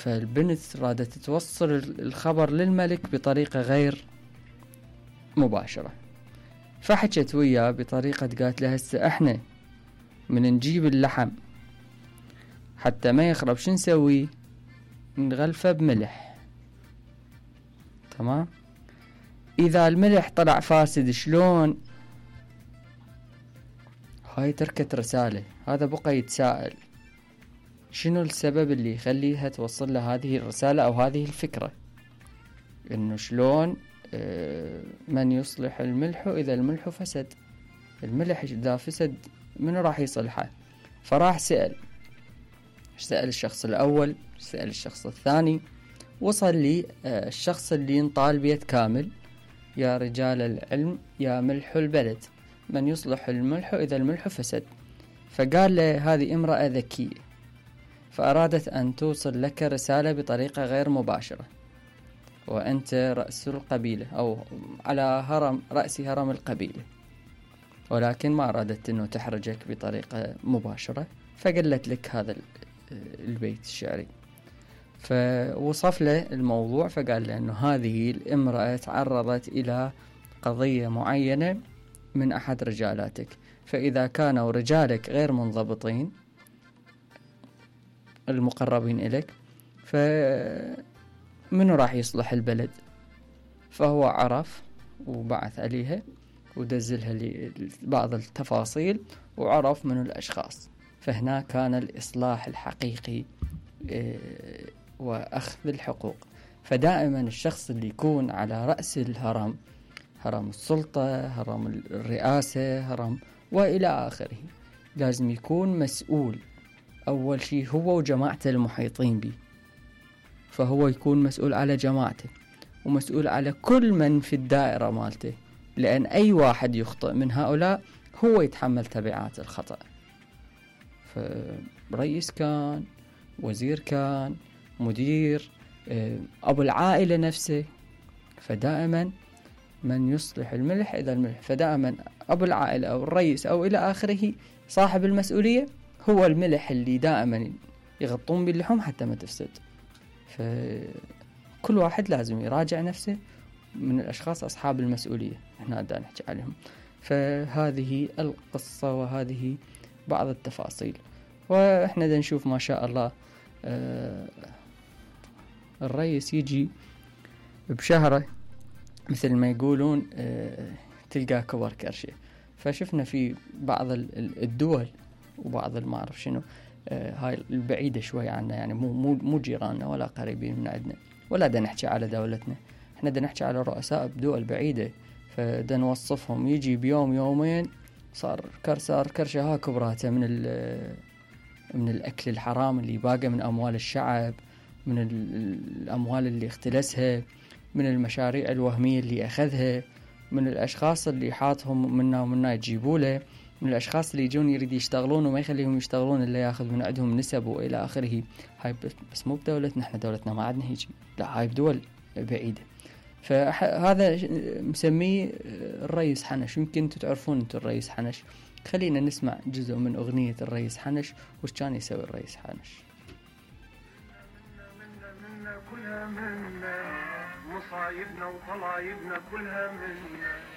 فالبنت رادت توصل الخبر للملك بطريقة غير مباشرة، فحكت وياه بطريقة قالت له هسه احنا من نجيب اللحم حتى ما يخرب شو نسوي؟ نغلفه بملح. تمام. اذا الملح طلع فاسد شلون؟ هاي تركت رسالة، هذا بقى يتساءل شنو السبب اللي يخليها توصل له هذه الرسالة او هذه الفكرة، انه شلون من يصلح الملح اذا الملح فسد؟ الملح اذا فسد منو راح يصلحه؟ فراح سأل الشخص الاول، سأل الشخص الثاني، وصل لي الشخص اللي ينطال بيت كامل: يا رجال العلم يا ملح البلد، من يصلح الملح إذا الملح فسد. فقال له هذه امرأة ذكية، فأرادت أن توصل لك رسالة بطريقة غير مباشرة، وأنت رأس القبيلة أو على رأس هرم القبيلة، ولكن ما أرادت أنه تحرجك بطريقة مباشرة، فقلت لك هذا البيت الشعري. فوصف له الموضوع، فقال له أنه هذه الامرأة تعرضت إلى قضية معينة من أحد رجالاتك، فإذا كانوا رجالك غير منضبطين المقربين إليك فمنو راح يصلح البلد؟ فهو عرف وبعث عليها ودزلها بعض التفاصيل وعرف من الأشخاص. فهنا كان الإصلاح الحقيقي وأخذ الحقوق. فدائما الشخص اللي يكون على رأس الهرم، هرم السلطة، هرم الرئاسة، هرم وإلى آخره، لازم يكون مسؤول أول شيء هو وجماعته المحيطين به. فهو يكون مسؤول على جماعته ومسؤول على كل من في الدائرة مالته، لأن أي واحد يخطئ من هؤلاء هو يتحمل تبعات الخطأ. فرئيس كان، وزير كان، مدير، أبو العائلة نفسه، فدائما من يصلح الملح إذا الملح، فدائما أبو العائلة أو الرئيس أو إلى آخره صاحب المسؤولية هو الملح اللي دائما يغطون باللحوم حتى ما تفسد. فكل واحد لازم يراجع نفسه من الأشخاص أصحاب المسؤولية احنا دا نحكي عليهم. فهذه القصة وهذه بعض التفاصيل، واحنا دا نشوف ما شاء الله الرئيس يجي بشهره مثل ما يقولون تلقى كبر كرشه. فشفنا في بعض الدول وبعض ما أعرف شنو هاي البعيدة شوي عنا، يعني مو جيراننا ولا قريبين من عندنا، ولا دا نحكي على دولتنا، احنا دا نحكي على رؤساء بدول بعيدة. فدا نوصفهم يجي بيوم يومين صار كرشة ها كبراته من الأكل الحرام اللي باقى من أموال الشعب، من الأموال اللي اختلسها، من المشاريع الوهمية اللي أخذها، من الأشخاص اللي حاطهم منا ومنا يجيبوا له، من الأشخاص اللي يجون يريد يشتغلون وما يخليهم يشتغلون إلا يأخذ من عندهم نسب وإلى آخره. هاي بس مو بدولتنا، احنا دولتنا ما عندنا هيجي، لا هاي بدول بعيدة. فهذا مسميه الرئيس حنش. يمكن انتم تعرفون انتم الرئيس حنش. خلينا نسمع جزء من أغنية الرئيس حنش وش كان يسوي الرئيس حنش. منا كلها منا، مصايبنا وطلايبنا كلها منا.